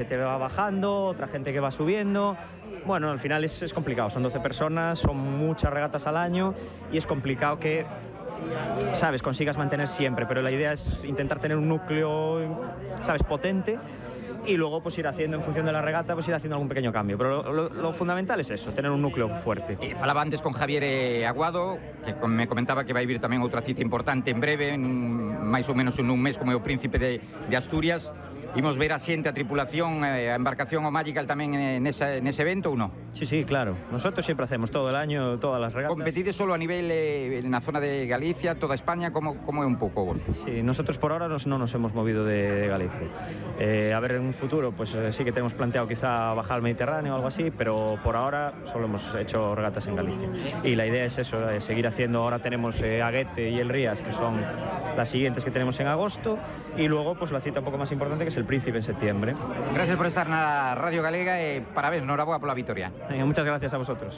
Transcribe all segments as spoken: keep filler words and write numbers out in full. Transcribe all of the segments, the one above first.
que te va bajando, otra gente que va subiendo. Bueno, al final es, es complicado, son doce personas, son muchas regatas al año y es complicado que, sabes, consigas mantener siempre, pero la idea es intentar tener un núcleo, sabes, potente, y luego pues ir haciendo en función de la regata, pues ir haciendo algún pequeño cambio, pero lo, lo, lo fundamental es eso, tener un núcleo fuerte. Eh, falaba antes con Javier eh, Aguado, que con, me comentaba que vai vir tamén outra cita importante en breve, en un, máis ou menos en un mes, como é o Príncipe de, de Asturias. Imos ver a xente, a tripulación, a embarcación o Magical tamén nese, nese evento ou non? Sí, sí, claro. Nosotros siempre hacemos todo el año, todas las regatas. ¿Competides solo a nivel eh, en la zona de Galicia, toda España? ¿Cómo, cómo es un poco vos? Sí, nosotros por ahora nos, no nos hemos movido de, de Galicia. Eh, a ver, en un futuro, pues eh, sí que tenemos planteado quizá bajar al Mediterráneo o algo así, pero por ahora solo hemos hecho regatas en Galicia. Y la idea es eso, eh, seguir haciendo. Ahora tenemos eh, Aguete y el Rías, que son las siguientes que tenemos en agosto, y luego pues la cita un poco más importante, que es el Príncipe en septiembre. Gracias por estar na Radio Galega e parabéns, noraboa pola vitoria. Venga, muchas gracias a vosotros.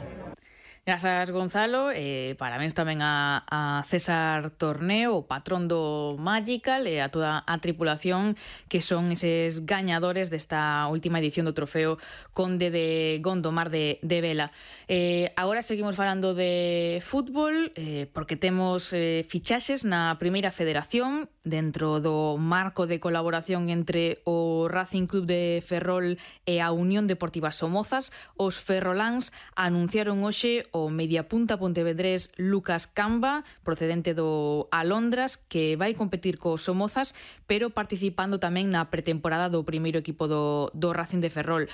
Grazas, Gonzalo, e parabéns tamén a, a César Torneo, o patrón do Magical, e a toda a tripulación que son eses gañadores desta última edición do trofeo Conde de Gondomar de, de Vela. Eh, agora seguimos falando de fútbol, eh, porque temos eh, fichaxes na primeira federación dentro do marco de colaboración entre o Racing Club de Ferrol e a Unión Deportiva Somozas. Os ferroláns anunciaron hoxe o mediapunta pontevedrés Lucas Camba, procedente do Alondras, que vai competir co Somozas, pero participando tamén na pretemporada do primeiro equipo do, do Racing de Ferrol.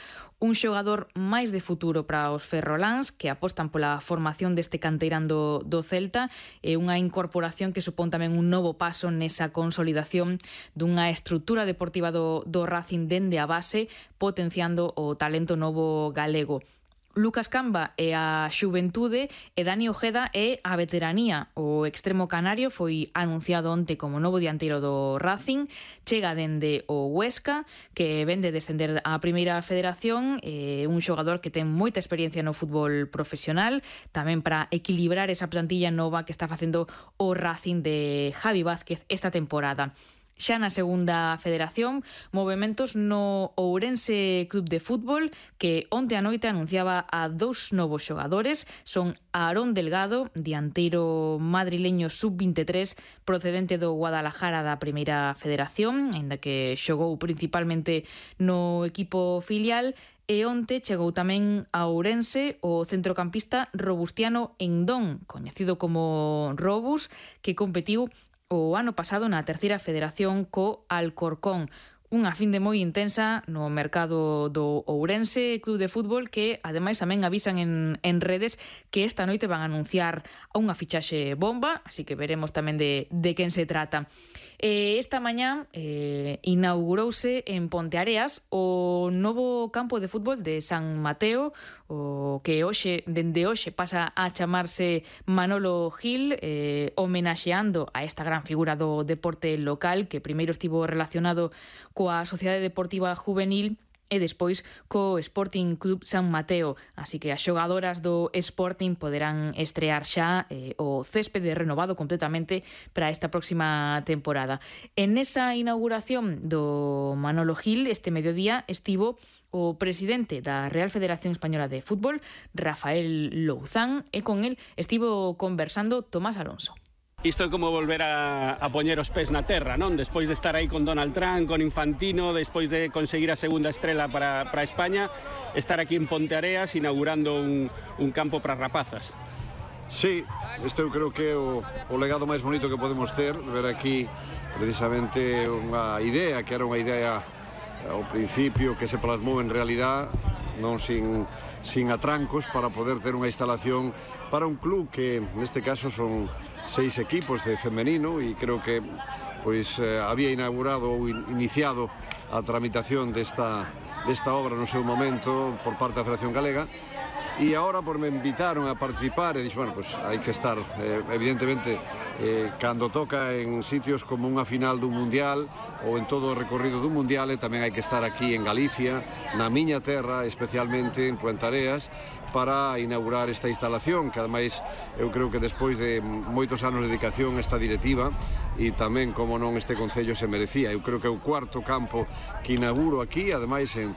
Un xogador máis de futuro para os ferroláns, que apostan pola formación deste canteirán do, do Celta, e unha incorporación que supón tamén un novo paso nesa consolidación dunha estrutura deportiva do, do Racing dende a base, potenciando o talento novo galego. Lucas Camba é a xuventude e Dani Ojeda é a veteranía. O extremo canario foi anunciado onte como novo dianteiro do Racing, chega dende o Huesca, que ven de descender á primeira federación, é un xogador que ten moita experiencia no fútbol profesional, tamén para equilibrar esa plantilla nova que está facendo o Racing de Javi Vázquez esta temporada. Xa na segunda federación, movementos no Ourense Club de Fútbol, que onte a noite anunciaba a dous novos xogadores. Son Aarón Delgado, dianteiro madrileño sub vinte e tres, procedente do Guadalajara da primeira federación, aínda que xogou principalmente no equipo filial, e onte chegou tamén a Ourense o centrocampista Robustiano Endón, coñecido como Robus, que competiu o ano pasado na terceira federación co Alcorcón. Unha fin de moi intensa no mercado do Ourense Club de Fútbol, que ademais tamén avisan en, en redes que esta noite van a anunciar unha fichaxe bomba, así que veremos tamén de, de quen se trata. E esta mañá eh, inaugurouse en Ponteareas o novo campo de fútbol de San Mateo, o que hoxe, dende hoxe pasa a chamarse Manolo Gil, eh, homenaxeando a esta gran figura do deporte local, que primeiro estivo relacionado coa Sociedade Deportiva Juvenil e despois co Sporting Club San Mateo. Así que as xogadoras do Sporting poderán estrear xa eh, o céspede renovado completamente para esta próxima temporada. En esa inauguración do Manolo Gil, este mediodía, estivo o presidente da Real Federación Española de Fútbol, Rafael Louzán, e con el estivo conversando Tomás Alonso. Isto é como volver a, a poñer os pés na terra, non? Despois de estar aí con Donald Trump, con Infantino, despois de conseguir a segunda estrela para, para España, estar aquí en Ponteareas inaugurando un, un campo para rapazas. Sí, isto eu creo que é o, o legado máis bonito que podemos ter, ver aquí precisamente unha idea, que era unha idea ao principio que se plasmou en realidad, non sin, sin atrancos, para poder ter unha instalación para un club que neste caso son seis equipos de femenino, e creo que pois eh, había inaugurado ou in, iniciado a tramitación desta, desta obra no seu momento por parte da Federación Galega, e agora por me invitaron a participar e dixo, bueno, pues hai que estar eh, evidentemente eh, cando toca en sitios como unha final dun mundial ou en todo o recorrido dun mundial, e tamén hai que estar aquí en Galicia, na miña terra, especialmente en Puentareas, para inaugurar esta instalación, que ademais eu creo que despois de moitos anos de dedicación esta directiva e tamén, como non, este Concello se merecía. Eu creo que é o cuarto campo que inauguro aquí, ademais en Pontevedra.